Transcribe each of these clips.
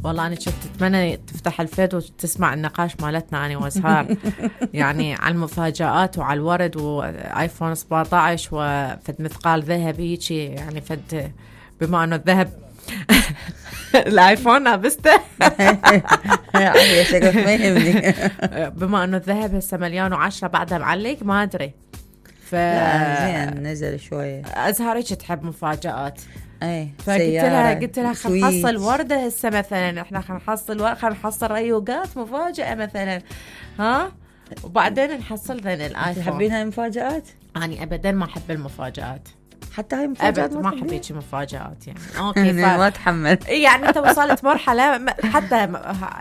والله أنا كنت أتمنى تفتح الفيد وتسمع النقاش مالتنا أنا وأزهار يعني على المفاجآت وعلى الورد وآيفون 17 وفد مثقال ذهبي يعني فد بما أنه الذهب الآيفون لابسته يا شكلك ما يهمني. بما أنه الذهب هسه 1,010,000 بعدها معلق ما أدري. زين نزل شوية. أزهار هيك تحب مفاجآت. اي قلت لها خلينا نحصل ورده هسه مثلا، احنا خلينا نحصل ريوقات مفاجاه مثلا، ها، وبعدين نحصل ذن الايفون. تحبين هاي المفاجآت؟ اني ابدا ما احب المفاجآت، حتى هاي مفاجآت ما احب هيك مفاجآت يعني. اوكي ما اتحمل. يعني انت وصلت مرحله حتى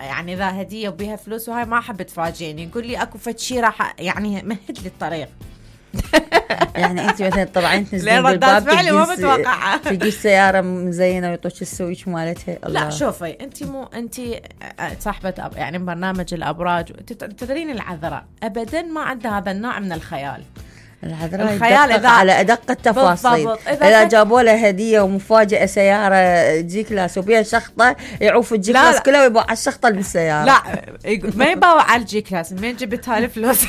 يعني اذا هديه وبيها فلوس وهاي ما احب تفاجئني، يقول لي اكو فد شيء راح يعني مهد لي الطريق. يعني انت مثلا طبعا تنزلين بالباب فعلي ما متوقعه تجي سياره مزينه ويعطوك السويتش مالتها. لا شوفي انت صاحبه يعني برنامج الابراج، تدرين العذراء ابدا ما عندها هذا النوع من الخيال إذا على أدق التفاصيل. إذا جابوا له هدية ومفاجأة سيارة جي كلاس وبيها شخطة يعوف الجي كلاس كله ويباع على الشخطة اللي بالسيارة. لا ما يباع على الجي كلاس، منين جبتها الفلوس؟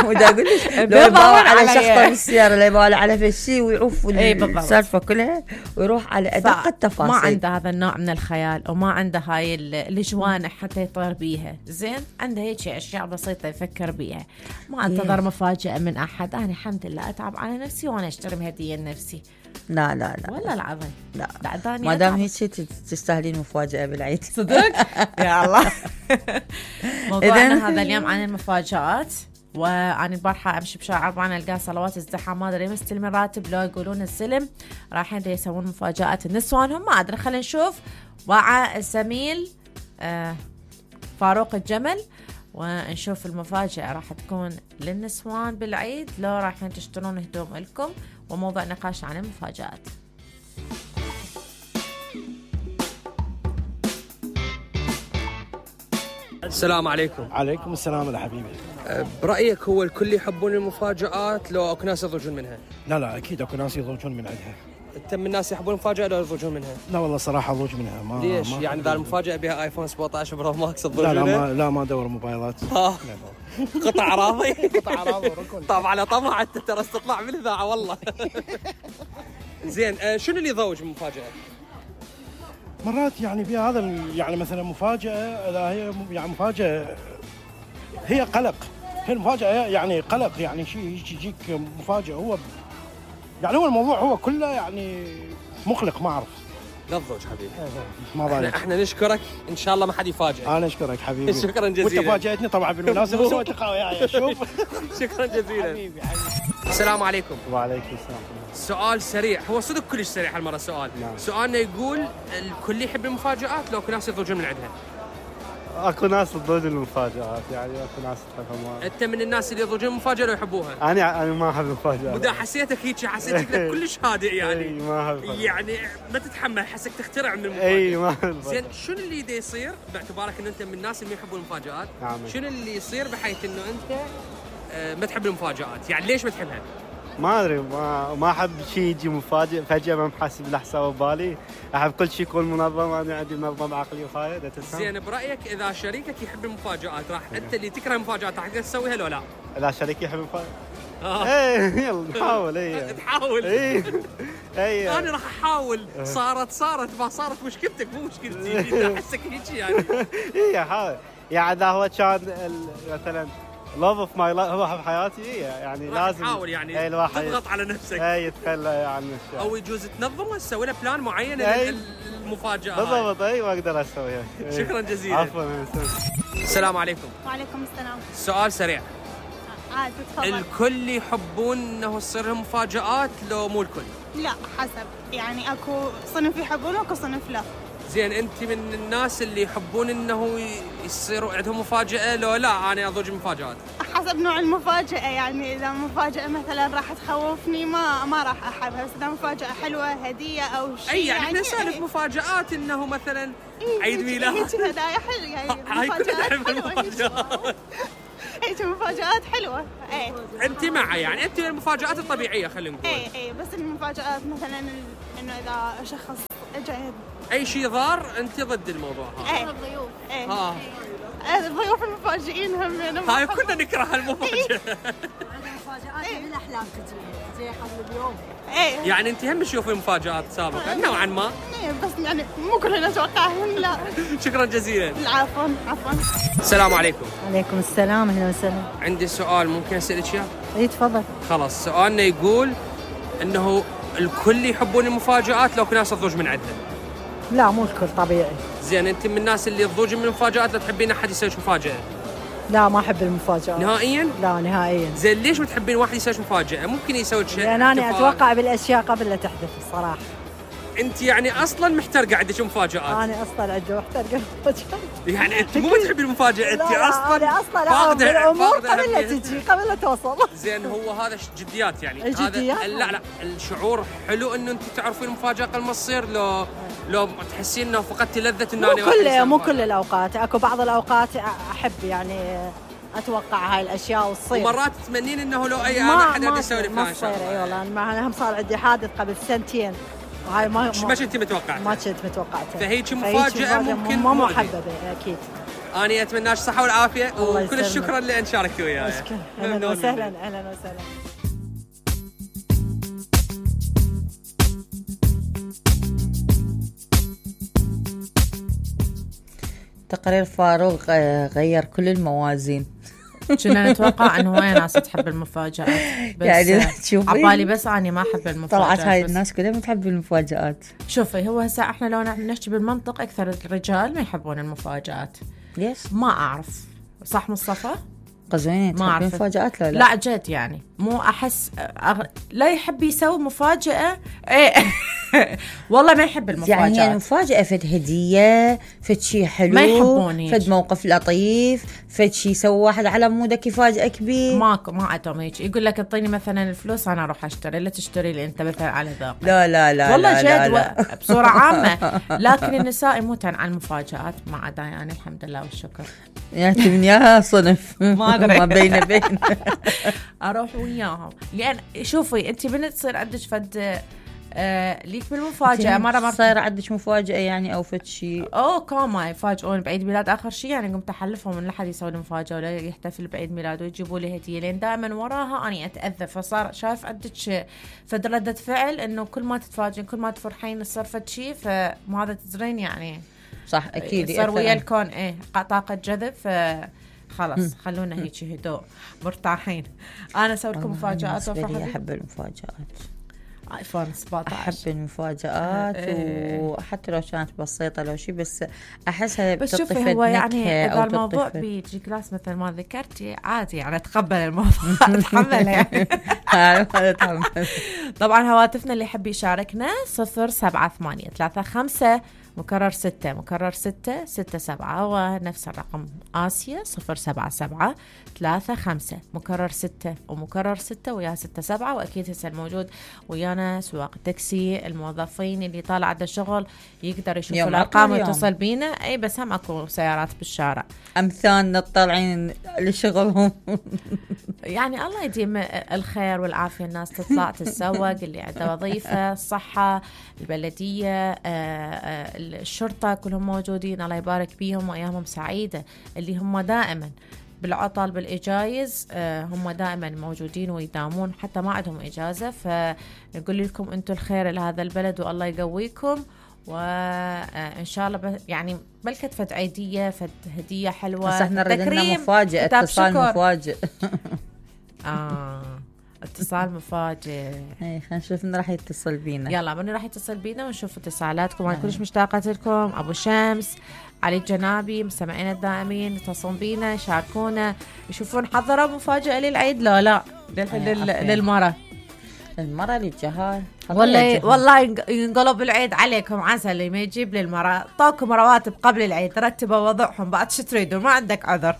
ودا أقول لك لو يباع على شخطة بالسيارة لا يباع على فشي ويعوف السالفة كلها ويروح على أدق التفاصيل. ما عنده هذا النوع من الخيال وما عنده هاي الجوانح حتى يطير بيها. زين عنده هيك أشياء بسيطة يفكر بيها، ما انتظر مفاجأة من أحد. أنا الحمد لله أتعب على نفسي وأنا أشتري هدية لنفسي. لا والله العظيم لا ما دام هيك تستاهلين مفاجأة بالعيد. صدق يا الله. موضوعنا هذا اليوم عن المفاجآت. وأنا البارحة أمشي بشارع 4 ألقى صلوات الزحام، ما أدري مستلم الراتب لو يقولون السلم رايحين يسوون مفاجآت النسوانهم، ما أدري. خلينا نشوف وعى الزميل فاروق الجمل ونشوف المفاجأة راح تكون للنسوان بالعيد لو رايحين تشترون هدوم لكم، وموضوع نقاش عن المفاجآت. السلام عليكم. عليكم السلام يا حبيبي. برأيك هو الكل يحبون المفاجآت لو اكو ناس يضجون منها؟ لا اكيد اكو ناس يضجون من عندها. انت من الناس يحبون المفاجأة لو يضجون منها؟ لا والله صراحة اضوج منها. ليش؟ يعني اذا المفاجأة بها ايفون 17 برو ماكس تضوج منها؟ لا ما ادور موبايلات. قطع اراضي. قطع اراضي وركن. طبعا على طمع انت ترى تطلع من الاذاعة والله. زين شنو اللي يضوج من المفاجأة؟ مرات يعني فيها هذا يعني مثلا مفاجأة، اذا هي يعني مفاجأة هي قلق، هي المفاجأة يعني قلق، يعني شيء يجيك مفاجأة هو يعني هو الموضوع هو كله يعني مقلق. ما اعرف. لا تضوج حبيبي. ما بالك. احنا نشكرك ان شاء الله ما حد يفاجئك. انا اشكرك حبيبي. شكرا جزيلا. وانت فاجأتني طبعا بالمناسبة وسويت لقاء وياي. شوف. شكرا جزيلا حبيبي. السلام عليكم. وعليكم السلام. سؤال سريع، هو صدق كلش سريع هالمرة السؤال. سؤالنا يقول الكل يحب المفاجآت لو اكو ناس يضوجون من عندها؟ اكو ناس تضوج المفاجآت، يعني اكو ناس تحبها. انت من الناس اللي يضوجون المفاجأة لو يحبوها؟ انا ما احب المفاجآت. ودا حسيتك هيك، حسيتك كلش هادئ يعني. ما احب يعني ما تتحمل، حسك تخترع من المفاجأة. ما احب. زين شنو اللي دا يصير باعتبارك ان انت من الناس اللي ما يحبون المفاجآت؟ شنو اللي يصير بحيث انه انت ما تحب المفاجآت؟ يعني ليش ما تحبها؟ ما ادري، ما احب شيء يجي مفاجئ فجأة ما محسب له حساب ببالي. احب كل شيء يكون منظم، انا عندي منظم عقلي وهاي. زين برايك اذا شريكك يحب المفاجآت راح انت اللي تكره المفاجآت راح تسويها لو لا؟ لا شريكي يحب المفاجآت. ايه يلا نحاول. تحاول. ايه انا راح احاول. صارت ما صارت مشكلتك مو مشكلتي. احسك هيك يعني. ايه حاول. يعني اذا هو كان مثلا love of my life هو بحياتي، يعني لازم تحاول يعني تضغط على نفسك. يتخلى يعني او يجوز تنظم تسوي له بلان معين للمفاجأة. بالضبط. ما اقدر اسويها. شكرا جزيلا. عفوا. السلام عليكم. وعليكم السلام. سؤال سريع. عادي تفضل. الكل يحبون انه تصير لهم مفاجآت لو مو الكل؟ لا حسب، يعني اكو صنف يحبون واكو صنف لا. زين انت من الناس اللي يحبون انه يصيروا عندهم مفاجأة لو لا انا اضوج المفاجآت؟ حسب نوع المفاجأة، يعني اذا مفاجأة مثلا راح تخوفني ما راح احبها، بس اذا مفاجأة حلوة هدية او شيء اي يعني نسالف مفاجآت انه مثلا عيد ميلاد هيك هدايا حلوة، يعني مفاجآت هيك مفاجآت حلوة. انت معي يعني انت المفاجآت الطبيعية خلينا نقول. اي بس المفاجآت مثلا انه اذا شخص جيد. اي شيء ضار انت ضد الموضوع هذا. الضيوف. الضيوف المفاجئين هم هاي كنا نكره المفاجاه. المفاجآت من الاحلام تجي زي قبل اليوم. يعني انت هم تشوفي مفاجآت سابقا نوعا ما. بس يعني مو كلنا نتوقعهم. لا. شكرا جزيلا. عفوا. السلام عليكم. عليكم السلام، اهلا وسهلا. عندي سؤال ممكن اسالك اياه؟ اي تفضل. خلاص سؤالنا يقول انه الكل يحبون المفاجآت لو كنا نضوج من عندنا. لا مو الكل، طبيعي. زين انت من الناس اللي تضوجين من المفاجآت لا تحبين احد يسوي مفاجأة؟ لا ما احب المفاجآت نهائيا؟ لا نهائيا. زين ليش بتحبين واحد يسوي مفاجأة؟ ممكن يسوي شيء. لان انا اتوقع بالاشياء قبل لا تحدث الصراحه. انت يعني اصلا محترقه عندك مفاجآت. انا اصلا عندي محترقه مفاجآت. يعني انت مو بتحبي المفاجأة، انت اصلا انا اصلا الامور قبل لا تجي، قبل لا توصل. زين هو هذا جديات يعني. جديات؟ هذا لا الشعور حلو انه انت تعرفين المفاجأة قبل ما تصير، لو تحسين انه فقدتي لذة انه مو كل الاوقات، اكو بعض الاوقات احب يعني اتوقع هاي الاشياء وتصير. ومرات تتمنين انه لو اي انا حد يسوي لي فلان شيء. اي والله انا هم صار عندي حادث قبل سنتين وهاي ما كنت متوقعتها. ما كنت متوقعتها. فهيك مفاجأة ممكن ما محببة اكيد. أنا أتمنى الصحة والعافية وكل الشكر اللي أن شاركتوا وياي. أهلا وسهلا. أهلا وسهلا. تقرير فاروق غير كل الموازين. كنا نتوقع انه هواي ناس تحب المفاجآت، بس يعني تشوفي عبالي بس اني ما احب المفاجآت. طلعت هاي الناس كلها بتحب المفاجآت. شوفي هو هسه احنا لو نحكي بالمنطق اكثر الرجال ما يحبون المفاجآت. ليش؟ ما اعرف. صح مصطفى؟ قزوينين تحبين المفاجآت لا؟ لا جد يعني مو احس لا يحب يسوي مفاجأة. ايه والله ما يحب المفاجآت. يعني المفاجأة فد هدية، فد شيء حلو، ما يحبون فد موقف لطيف، فد شيء يسوي واحد على مودك يفاجئك بيه. ماكو، ما عندهم هيك. يقول لك اعطيني مثلا الفلوس انا اروح اشتري، لا تشتري لي انت مثلا على ذوقك. لا والله لا جد لا. بصورة عامة. لكن النساء يموتن على المفاجآت ما عدا يعني الحمد لله والشكر. يعني من ياها صنف ما ادري ما بين اروح وياهم. لان شوفي انت بنت تصير عندك فد ليك بالمفاجأة مرة صاير عندك مفاجأة يعني او فد شيء كاما يفاجئون بعيد ميلاد اخر شيء يعني قمت احلفهم ان لا حد يسوي لي مفاجأة ولا يحتفل بعيد ميلاده ويجيبوا لي هدية، لين دائما وراها اني اتأذى. فصار شايف عندك فد ردة فعل انه كل ما تتفاجئين كل ما تفرحين يصير فد شيء، فما هذا تزرين يعني. صح اكيد صار ويا الكون طاقة جذب. خلاص خلونا هيك هدوء مرتاحين. انا اسوي لكم مفاجآت وافرح. احب المفاجآت. ايفون 17 احب المفاجآت وحتى لو كانت بسيطة لو شيء، بس احسها بس شوفي هو يعني اذا الموضوع بيجي كلاس مثل ما ذكرتي عادي يعني اتقبل الموضوع. اتحمل يعني. طبعا هواتفنا اللي يحب يشاركنا 07835 مكرر 6 مكرر 6 6 7 ونفس الرقم آسيا 077 35 مكرر 6 ومكرر 6 ويا 6 7. وأكيد هسه الموجود ويانا سواق التاكسي، الموظفين اللي طالع عند الشغل يقدر يشوفوا الأرقام ويتصل بينا. أي بس هم أكو سيارات بالشارع أمثالنا الطالعين لشغلهم. يعني الله يديم الخير والعافية. الناس تطلع تتسوق، اللي عنده وظيفة، الصحة، البلدية، الشرطة، كلهم موجودين الله يبارك بيهم وأيامهم سعيدة. اللي هم دائما بالعطل بالإجايز هم دائما موجودين ويدامون حتى ما عندهم إجازة. فنقول لكم أنتم الخير لهذا البلد والله يقويكم، وإن شاء الله يعني بلكة فد عيدية فد هدية حلوة. بس احنا ردنا مفاجئ، اتصال مفاجئ. اتصال مفاجئ. اي خلينا نشوف من راح يتصل بينا. يلا من راح يتصل بينا ونشوف اتصالاتكم. انا كلش مشتاقه لكم. ابو شمس، علي الجنابي، مستمعينا الدائمين يتصلون بينا يشاركونا يشوفون حضروا مفاجاه للعيد لا للمره للجهال. والله ينقلب العيد عليكم عسل. ما يجيب للمره طاكم رواتب قبل العيد رتبوا وضعهم بعد شو تريدون ما عندك عذر.